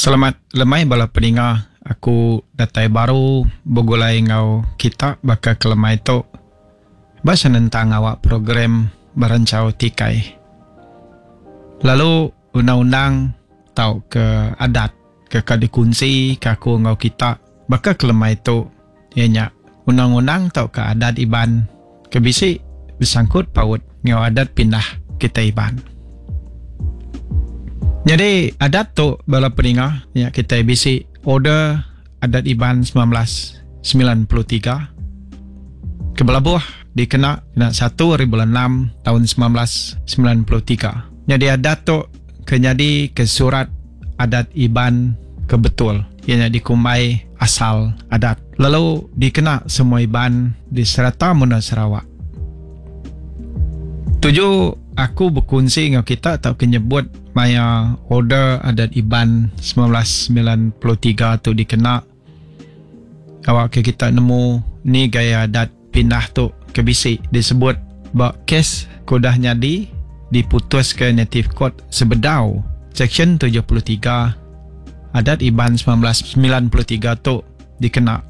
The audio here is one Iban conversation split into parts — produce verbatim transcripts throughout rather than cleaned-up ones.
Selamat lemai bala peninga, aku datai baru begulai enggau kita baka ke lemai tu ba senentang awak program Beranchau Tikai. Lalu undang-undang tauka adat ke ka dikunsi ke aku enggau kita baka ke lemai tu iya nya undang-undang tauka adat Iban ke bisi besangkut paut enggau adat pindah kitai Iban. Nyadi adat tu bala peninga nya kitai bisi Order Adat Iban semilan belas semilan puluh tiga ke belabuh dikena kena satu hari bulan enam taun semilan belas semilan puluh tiga. Nyadi adat tu ke nyadi ke surat adat Iban ke betul iya nya dikumbai asal adat lalu dikena semua Iban di serata menua Sarawak. Tuju aku bekunsi enggau kita tauka nyebut maya Order Adat Iban semilan belas semilan puluh tiga tu dikena awak ke kita nemu ni gaya adat pindah tu ke bisi disebut ba kes ke udah nyadi diputuska Native Court sebedau Seksyen tujuh puluh tiga Adat Iban semilan belas semilan puluh tiga tu dikena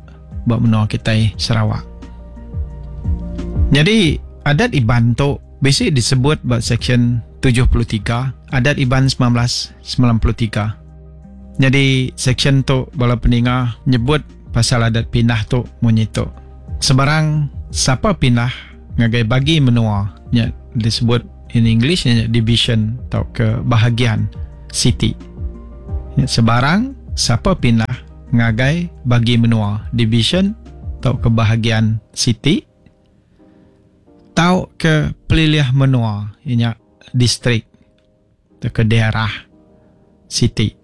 ba menua kitai Sarawak. Nyadi Adat Iban tu bisi disebut ba Seksyen tujuh puluh tiga Adat Iban semilan belas semilan puluh tiga. Nyadi seksyen tu bala peninga nyebut pasal adat pindah tu munyi tu. Sebarang sapa pindah ngagai bagi menua nya disebut in English nya division tauka bahagian siti. Nya sebarang sapa pindah ngagai bagi menua division tauka bahagian siti tauka pelilih menua nya distrik tauka daerah siti.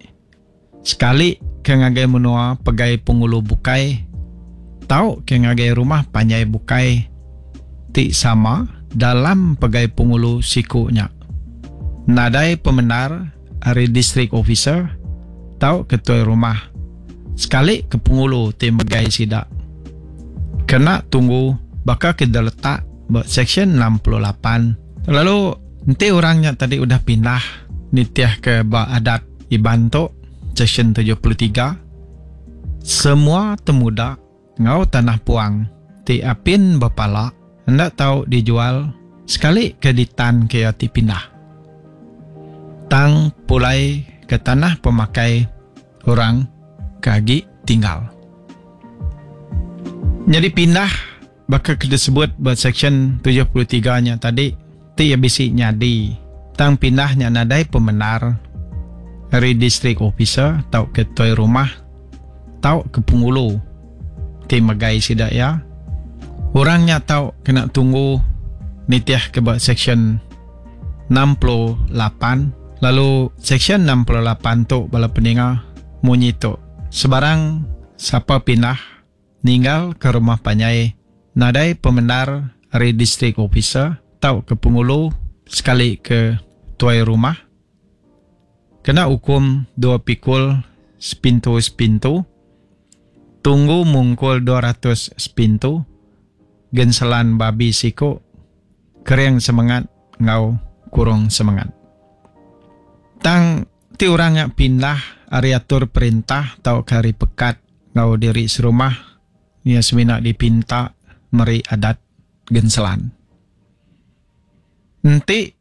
Sekali ke ngagai menua pegai pengulu bukai tauka ngagai rumah panjai bukai ti sama dalam pegai pengulu siku nya. Nadai pemendar ari district officer tauka ketuai rumah sekali ke pengulu ti megai sida. Kena tunggu baka ke diletak ba seksyen enam puluh lapan. Lalu enti orang nya tadi udah pindah nitih ke ba adat Iban tu seksyen tujuh puluh tiga, semua temuda enggau tanah puang ti apin bepala enda tau dijual sekali ke ditan ke iya ti pindah. Tang pulai ke tanah pemakai orang ke agi tinggal. Nyadi pindah baka ke disebut ba seksyen tujuh puluh tiga nya tadi ti iya bisi nyadi tang pindah nya nadai pemendar ari district officer tauka ketuai rumah tauka pengulu ti megai sida iya. Orang nya tau kena tunggu nitih ke ba seksyen enam puluh lapan. Lalu seksyen enam puluh lapan tu bala peninga munyi tu. Sebarang sapa pindah ninggal ke rumah panjai nadai pemendar ari district officer tauka pengulu sekali ke tuai rumah kena hukum dua pikul sepintu-sepintu, tunggu mungkul dua ratus sepintu, genselan babi siku, kering semengat enggau kurung semengat. Tang ti orang nya pindah ari atur perintah tauka ari pekat enggau diri serumah, ia semina dipinta meri adat genselan. Enti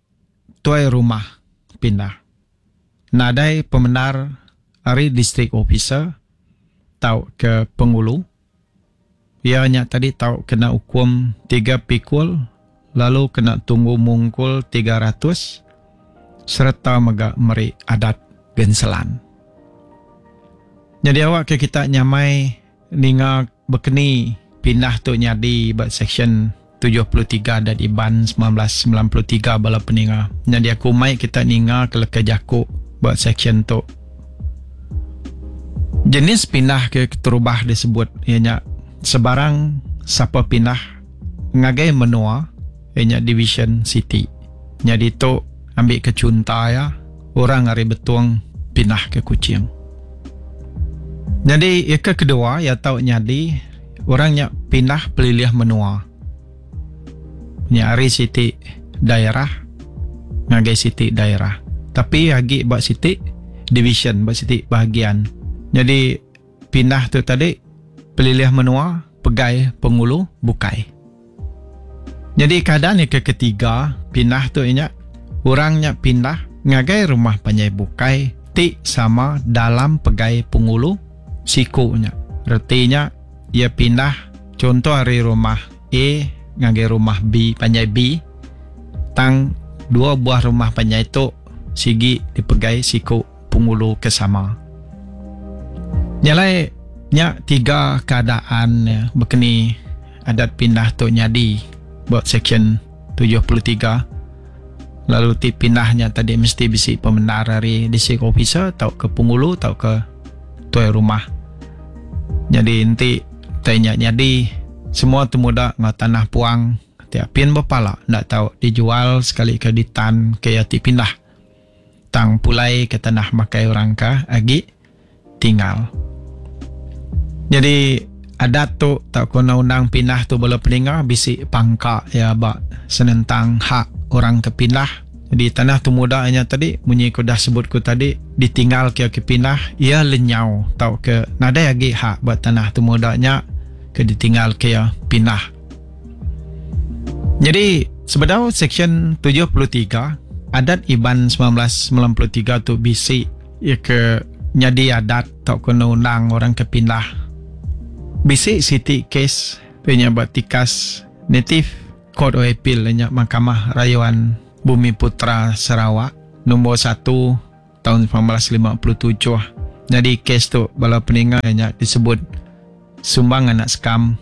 tuai rumah pindah nadai pemendar ari district officer tauka pengulu, ia nya tadi tau kena hukum tiga pikul lalu kena tunggu mungkul tiga ratus sereta mega meri adat genselan. Jadi awak ke kita nyamai ninga bekeni pindah tu nyadi ba seksyen tujuh puluh tiga Adat Iban semilan belas semilan puluh tiga bala peninga. Jadi aku mai kita ninga ke leka jaku ba seksyen tu. Jenis pindah ke keterubah disebut iya nya sebarang sapa pindah ngagai menua iya nya division city. Jadi tu ambil ke chunta ya orang ari Betong pindah ke Kuching. Jadi yang ke kedua ya tau nyadi orang nya pindah pelilih menua. Nya ari siti daerah ngagai siti daerah. Tapi agi ba siti division, ba siti bahagian. Jadi pindah tu tadi pelilih menua pegai pengulu bukai. Jadi keadaan yang ketiga pindah tu inya orangnya pindah ngagai rumah panjai bukai ti sama dalam pegai pengulu sikunya. Retinya ia pindah contoh hari rumah A ngagai rumah B, panjai B, tang dua buah rumah panjai tu sigi dipegai siku pengulu ke sama. Nyalai nya tiga keadaan ya, bekeni adat pindah tu nyadi buat section tujuh puluh tiga. Lalu ti pindahnya tadi mesti bisi pembenar dari district officer atau ke pengulu atau ke tuai rumah. Jadi enti tanya jadi semua temuda ngau tanah puang tiap pin berpala ndak tahu dijual sekali ke ditan ke ya ti pindah. Tang pulai ke tanah makai orang ka agi tinggal. Jadi adat tu tak kena undang pindah tu bala peninga bisi pangka ya ba senentang hak orang ke pindah. Jadi tanah tu mudanya tadi munyi ku dah sebut ku tadi ditinggal ke ke pindah ia lenyau tau ke nadai agi hak buat tanah tu mudanya ke ditinggal ke ya pindah. Jadi sebedau section tujuh puluh tiga adat Iban sembilan belas sembilan puluh tiga tu bisi ia ke nyadi adat tau kena undang orang ke pindah. Bisi siti kes punya buat tikas native Court of Appeal nya Mahkamah Rayuan Bumi Putra Sarawak nombor satu tahun sembilan belas lima puluh tujuh. Jadi kes tu bala peninga nya disebut Sumbang Anak Sekam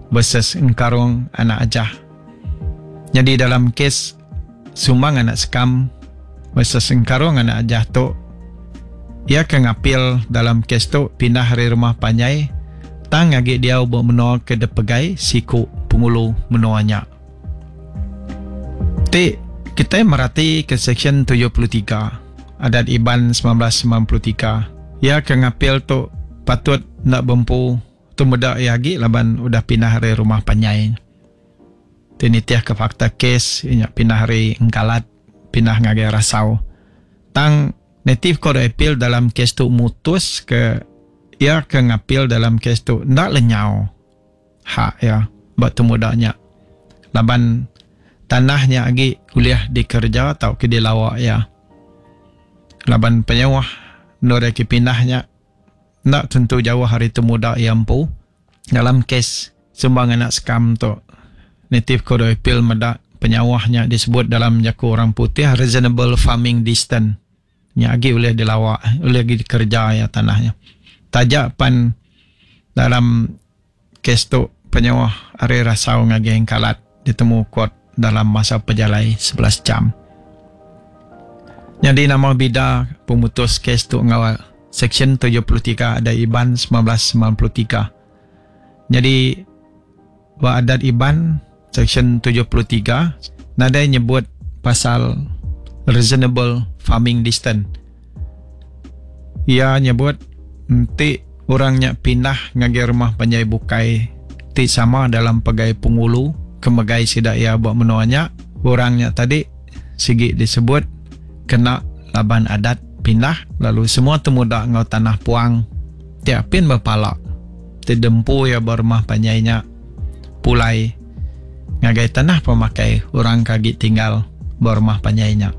versus Engkarung Anak Ajah. Jadi dalam kes Sumbang Anak Sekam versus Engkarung Anak Ajah tu ia ke ngapil dalam kes tu pindah dari rumah panjai tang agi dia buat menua ke depegai siku pengulu menuanya. Ti kita merati ke section tujuh puluh tiga adat Iban sembilan belas sembilan puluh tiga. Ia ke ngapil tu patut nak bempu tu muda ia agi laban udah pindah dari rumah panjai. Ti nitiah ke fakta kes inya pindah dari Engkalat pindah ngagai Rasau. Tang native court appeal dalam kes tu mutus ke ia ke ngapil dalam kes tu ndak lenyau hak ya buat tu mudanya. Laban tanahnya agi kuliah dikerja atau ke dilawak ya. Laban penyewah nore ke pindahnya ndak tentu jauh hari tu muda ia empu. Dalam kes Sumbang Anak Sekam tu native court appeal medak penyawahnya disebut dalam jaku orang putih reasonable farming distance. Nya agi boleh dilawak, boleh agi dikerja ya tanahnya. Tajak pan dalam kes tu penyawah ari Rasau ngagi Engkalat ditemu kuat dalam masa pejalai sebelas jam. Jadi nama bida pemutus kes tu ngawal section tujuh puluh tiga ada Iban sembilan belas sembilan puluh tiga. Jadi wa adat Iban section tujuh puluh tiga nadai nyebut pasal reasonable farming distance. Ia nyebut enti orangnya pindah ngagai rumah panjai bukai ti sama dalam pegai pengulu kemegai sidak ia buat menuanya orangnya tadi sigi disebut kena laban adat pindah lalu semua temuda ngau tanah puang tiap pin berpalak ti dempu ia berumah panjainya pulai ngagai tanah pemakai orang kagi tinggal berumah panjainya.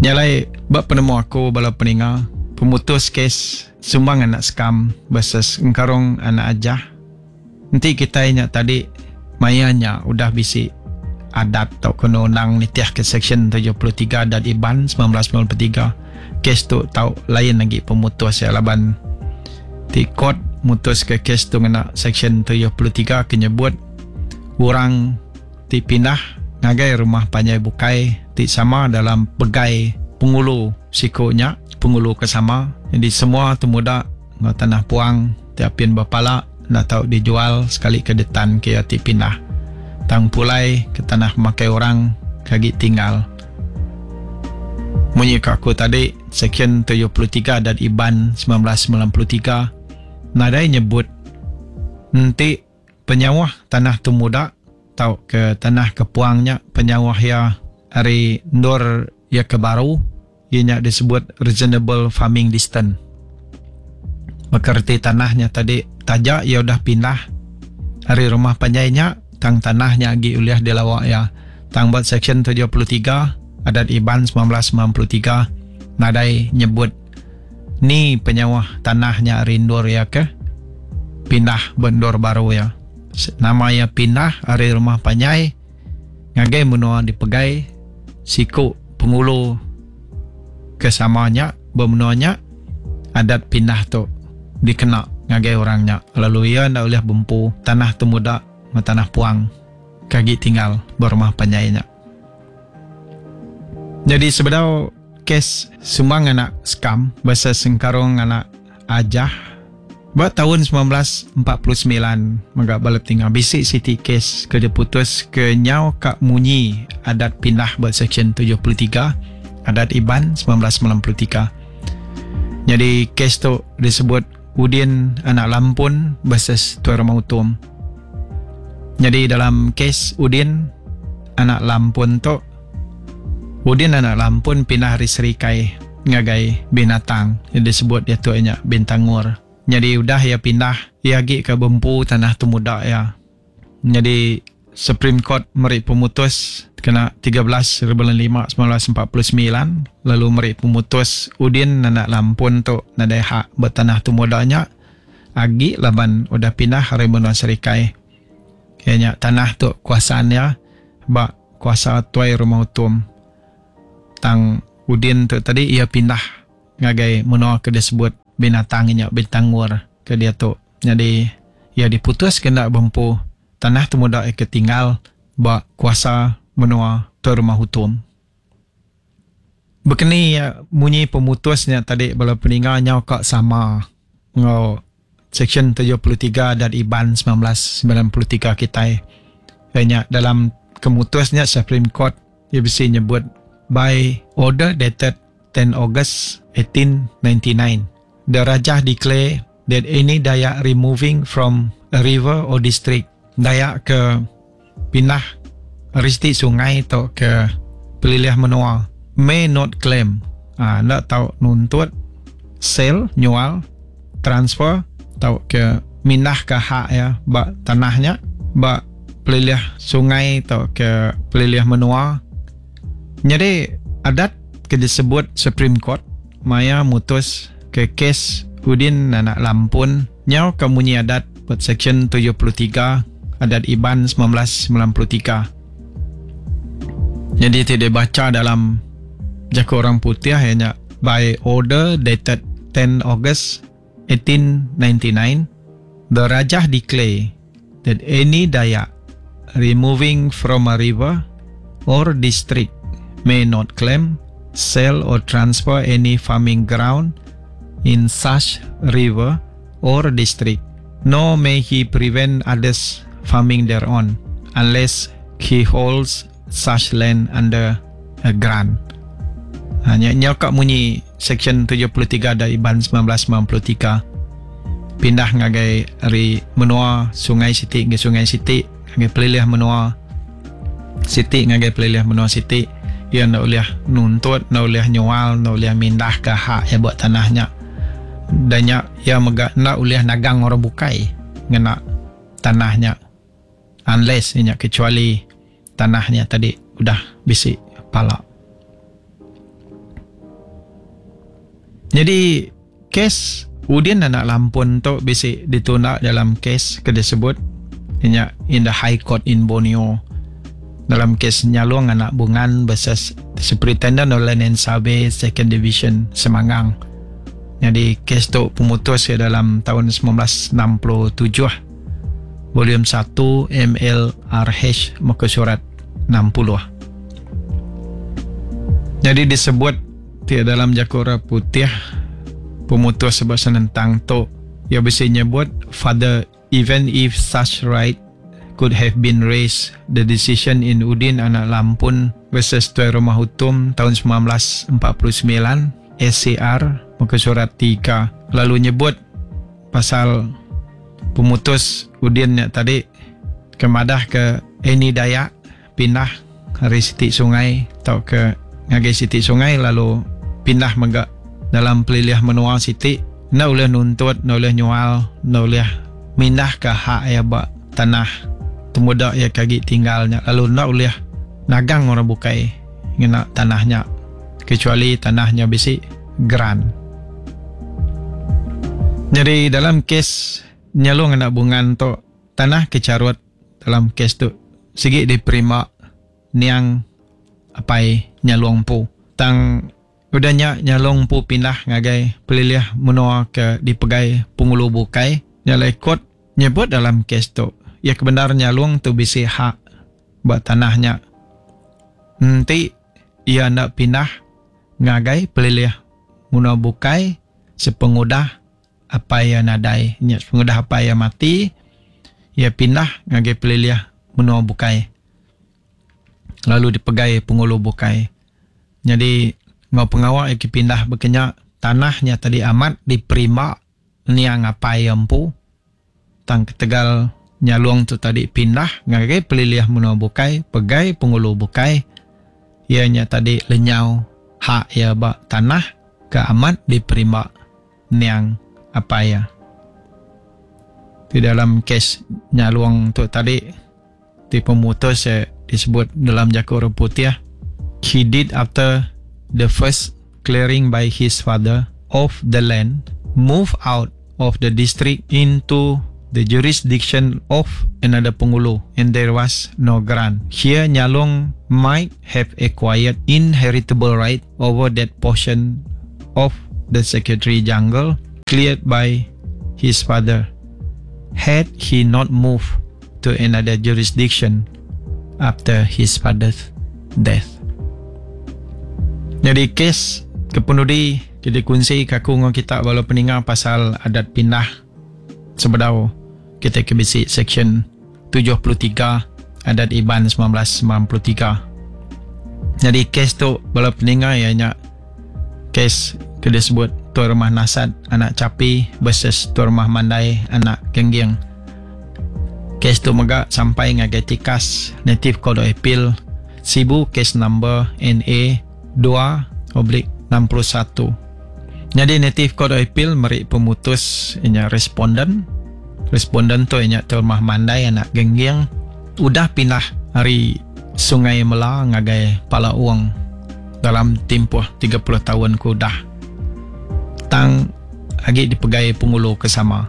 Nyalai bab penemu aku bala peninga pemutus kes Sumbang Anak Sekam versus Engkarung Anak Ajah. Nanti kita ingat tadi mayanya udah bisi adat atau kena undang nitiah ke section tujuh puluh tiga adat Iban sembilan belas sembilan puluh tiga. Kes tu tau lain lagi pemutus ya laban ti court mutus ke kes tu ngena section tujuh puluh tiga ke nyebut orang ti pindah ngagai rumah panjai bukai ti sama dalam pegai pengulu sikunya pengulu ke sama. Jadi semua temuda ngau tanah puang tiapin berpala nak tau dijual sekali ke detan ke ti pindah tang pulai ke tanah makai orang kagi tinggal. Munyi ke aku tadi section tujuh puluh tiga dan Iban sembilan belas sembilan puluh tiga nadai nyebut nanti penyawah tanah temuda tau ke tanah kepuangnya penyawah ya hari ndur ya ke baru iya nya disebut reasonable farming distance. Baka reti tanah nya tadi taja iya udah pindah ari rumah panjai nya tang tanah nya agi ulih dilawa iya. Tang ba section tujuh puluh tiga Adat Iban sembilan belas sembilan puluh tiga nadai nyebut ni penyauh tanah nya ari endur iya ke pindah ba endur baru iya. Nama iya pindah ari rumah panjai ngagai menua dipegai siku pengulu ke sama nya ba menua nya, adat pindah tu dikena ngagai orang nya lalu iya enda ulih bempu tanah temuda enggau tanah puang ke agi tinggal ba rumah panjai nya. Jadi sebedau kes Sumbang anak Sekam versus Sengkarong anak Ajah ba tahun sembilan belas empat puluh semilan mega bala tinggal bisi siti kes ke diputus ke nyau ka munyi adat pindah ba section tujuh puluh tiga Adat Iban sembilan belas sembilan puluh tiga. Jadi kes tu disebut Udin anak Lampun versus Tuai Rumah Utom. Jadi dalam kes Udin anak Lampun tu, Udin anak Lampun pindah ari Serikai ngagai Binatang yang disebut dia tu nya Bintangor. Jadi udah ia pindah, ia agi ke bempu tanah temuda ia. Jadi Supreme Court meri pemutus kena tiga belas bulan lima sembilan belas empat puluh semilan lalu meri pemutus Udin anak Lampun tu nadai hak bertanah temuda nya agi laban udah pindah ari menua Serikai. Kayaknya tanah tu kuasaan dia ba kuasa Tuai Rumah Utom. Tang Udin tu tadi ia pindah ngagai menua ke disebut Binatang nya Bintangor ke dia tu. Jadi ia diputus kena bempu tanah temuda ke tinggal ba kuasa menua Tuai Rumah Utom. Bekeni munyi pemutusnya tadi bala peninga nyau ka sama ngau section tujuh puluh tiga Adat Iban sembilan belas sembilan puluh tiga kitai. Nya dalam kemutusnya Supreme Court ia bisi nyebut by order dated ten August eighteen ninety-nine, the Rajah declare that any Dayak removing from a river or district, Dayak ke pindah risti sungai atau ke pelilih menua, may not claim, ha, nak tau nuntut sale, nyual, transfer atau ke mindah ke hak ya ba tanahnya ba pelilih sungai atau ke pelilih menua. Jadi adat ke disebut Supreme Court maya mutus ke kes Udin anak Lampun nyau ke munyi adat buat section tujuh puluh tiga Adat Iban sembilan belas sembilan puluh tiga. Jadi tidak baca dalam jaku orang putih ianya by order dated ten August eighteen ninety-nine, the Rajah declare that any Dayak removing from a river or district may not claim, sell or transfer any farming ground in such river or district, nor may he prevent others farming thereon unless he holds such land under a grant. Hanya nyokak munyi section tujuh puluh tiga dari Iban sembilan belas sembilan puluh tiga pindah ngagai ari menua Sungai Siti ke Sungai Siti ngagai pelilih menua Siti ngagai pelilih menua Siti, ia nak boleh nuntut, nak boleh nyual, nak boleh mindah ke hak yang buat tanahnya. Dan nya ia mega nak boleh nagang orang bukai ngena tanahnya unless nya kecuali tanahnya tadi udah bisi pala. Jadi kes Udin anak Lampun tu bisi ditunda dalam kes ke disebut nya in the High Court in Borneo dalam kes Nyalong anak Bungan versus Superintendent of Land and Survey Second Division Semangang. Jadi kes tu pemutus ya dalam tahun sembilan belas enam puluh tujuh volume satu M L R H muka surat enam puluh. Jadi disebut di dalam Jakura Putih pemutus sebab senentang tu ia bisa nyebut father even if such right could have been raised, the decision in Udin anak Lampun versus Tuai Rumah Utom tahun sembilan belas empat puluh sembilan S C R muka surat tiga lalu nyebut pasal pemutus Udin nya tadi kemadah ke any Dayak pindah hari siti sungai atau ke ngagai siti sungai lalu pindah mega dalam pelilih menua siti enda ulih nuntut, enda ulih nyual, enda ulih mindahka hak iya ba tanah temuda iya ke agi tinggal nya lalu enda ulih nagang orang bukai ngena tanah nya kecuali tanah nya bisi geran. Jadi dalam kes Nyalong anak Bungan tu, tanah ke charut dalam kes tu sigi diperima niang apai Nyalong empu. Tang udah nya Nyalong empu pindah ngagai pelilih menua ke dipegai pengulu bukai. Nya alai kot nyebut dalam kes tu, iya ke bendar Nyalong tu bisi hak ba tanah nya enti iya enda pindah ngagai pelilih menua bukai sepengudah apai iya nadai. Nya sepengudah apai iya mati, iya pindah ngagai pelilih menua bukai lalu dipegai pengulu bukai. Nyadi enggau pengawa iya ke pindah baka nya, tanah nya tadi amat diperima niang apai iya empu. Tang ketegal Nyalong tu tadi pindah ngagai pelilih menua bukai, pegai pengulu bukai, iya nya tadi lenyau hak iya ba tanah ke amat diperimba niang apai iya. Ti dalam kes Nyalong tu tadi ti pemutus iya disebut dalam jaku orang putih, he did after the first clearing by his father of the land move out of the district into the jurisdiction of another pengulu and there was no grant. Here Nyalong might have acquired inheritable right over that portion of the secretary jungle cleared by his father had he not moved to another jurisdiction after his father's death. Jadi kes kepenudi jadi kunci ke aku ngau kita bala peninga pasal adat pindah sebedau kita ke bisi section tujuh puluh tiga Adat Iban sembilan belas sembilan puluh tiga. Jadi kes tu bala peninga iya nya kes ke disebut Tuai Rumah Nasat anak Chapi versus Tuai Rumah Mandai anak Gengging. Kes tu mega sampai ngagai tikas Native Court of Appeal Sibu case number N A dua oblique enam puluh satu. Jadi Native Court of Appeal meri pemutus inya responden. Responden tu inya Tuai Rumah Mandai anak Gengging udah pindah ari Sungai Mela ngagai Pala Uang dalam tempoh tiga puluh tahun ke udah. Tang agi dipegai pengulu ke sama.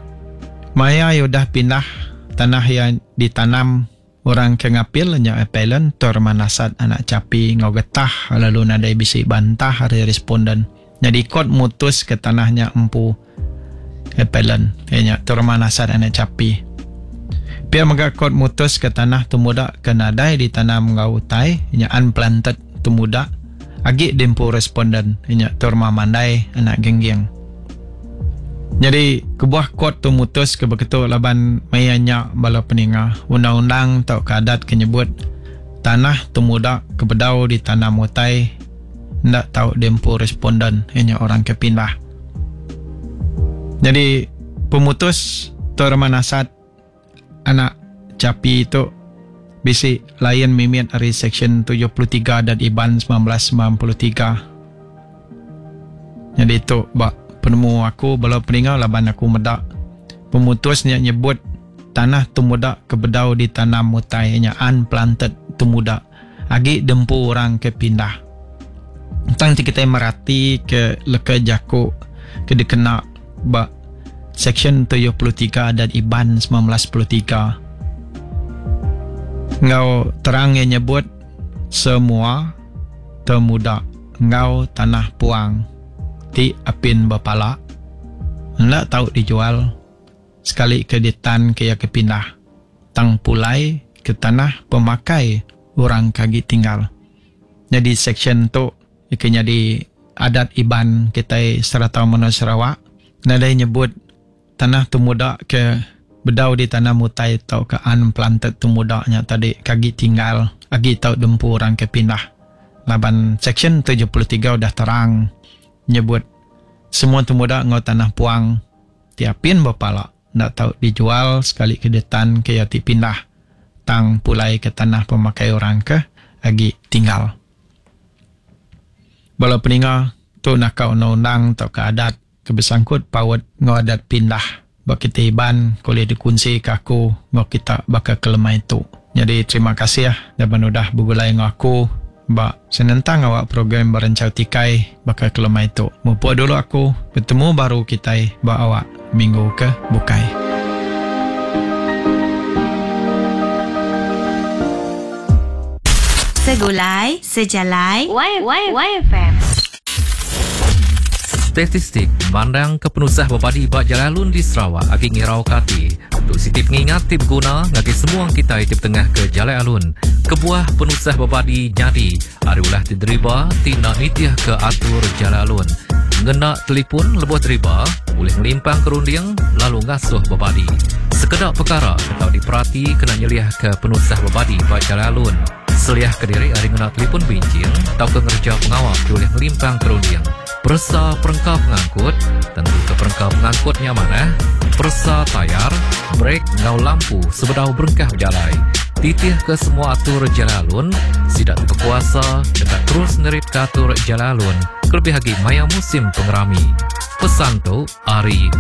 Maya ia udah pindah, tanah ia ditanam orang ke ngapil nya appellant Tuai Rumah Nasat anak Chapi ngau getah lalu nadai bisi bantah ari responden. Jadi kot mutus ke tanahnya empu appellant ianya Tuai Rumah Nasat anak Chapi. Pia mega kot mutus ke tanah temuda ke nadai ditanam ngau utai ianya unplanted temuda agi diempu responden ianya Tuai Rumah Mandai anak Gengging. Jadi kebuah kot tu mutus ke beketu laban maya nya bala peninga undang-undang tau ke adat ke nyebut tanah temuda ke bedau ditanam utai ndak tau diempu responden ianya orang ke pindah. Jadi pemutus Tuai Rumah Nasat anak Chapi tu bisi lain mimit dari section tujuh puluh tiga Adat Iban sembilan belas sembilan puluh tiga. Jadi tu bak penemu aku bala peninga laban aku meda pemutusnya nyebut tanah temuda ke bedau ditanam utai nya unplanted temuda agi dempu orang ke pindah. Tang ti kita merati ke leka jaku ke dikena ba section tujuh puluh tiga Adat Iban sembilan belas puluh tiga. Ngau terang yang nyebut semua temuda ngau tanah puang ti apin bepala ndak tau dijual sekali ke ditan ke ya ke pindah tang pulai ke tanah pemakai orang kagi tinggal. Jadi section tu ke jadi adat Iban kita serata menua Sarawak nadai nyebut tanah temuda ke bedau ditanam utai tau ke unplanted temuda nya tadi kagi tinggal agi tau dempu orang ke pindah. Laban section tujuh puluh tiga udah terang nyebut semua temuda ngau tanah puang tiapin bepala ndak tau dijual sekali ke ditan ke ya ti pindah tang pulai ke tanah pemakai orang ke agi tinggal. Bala peninga Tu naka undang-undang tauka adat ke besangkut paut enggau adat pindah ba kitai Iban ke ulih dikunsi ke aku enggau kita baka ke lemai tu. Nyadi terima kasih laban udah begulai enggau aku ba senentang awak program Berencau Tikai baka ke lemai tu. Mupuk dulu aku, betemu baru kitai ba awak minggu ke bukai. Segulai, sejalai, Y Y Y F M. Statistik mandang ke penusah bebadi ba jalai alun di Sarawak agi ngirau ke ati. Tu siti pengingat ti beguna ngagai semua kitai ti betengah ke jalai alun. Kebuah penusah bebadi nyadi ari ulah ti deriba ti enda nitih ke atur jalai alun. Ngena telefon lebuh deriba ulih ngelimpang ke runding lalu ngasuh bebadi. Sekeda pekara ke tau diperati kena nyeliah ke penusah bebadi ba jalai alun. Seliah ke diri ari ngena telefon binching tauka ngereja pengawa ti ulih ngelimpang ke runding. Peresa perengka pengangkut, tentu ke perengka pengangkut nya manah. Peresa tayar, brek enggau lampu sebedau berengkah bejalai. Titih ke semua atur jalai alun, sida ti bekuasa deka terus neritka atur jalai alun kelebih agi maya musim pengerami. Pesan tu ari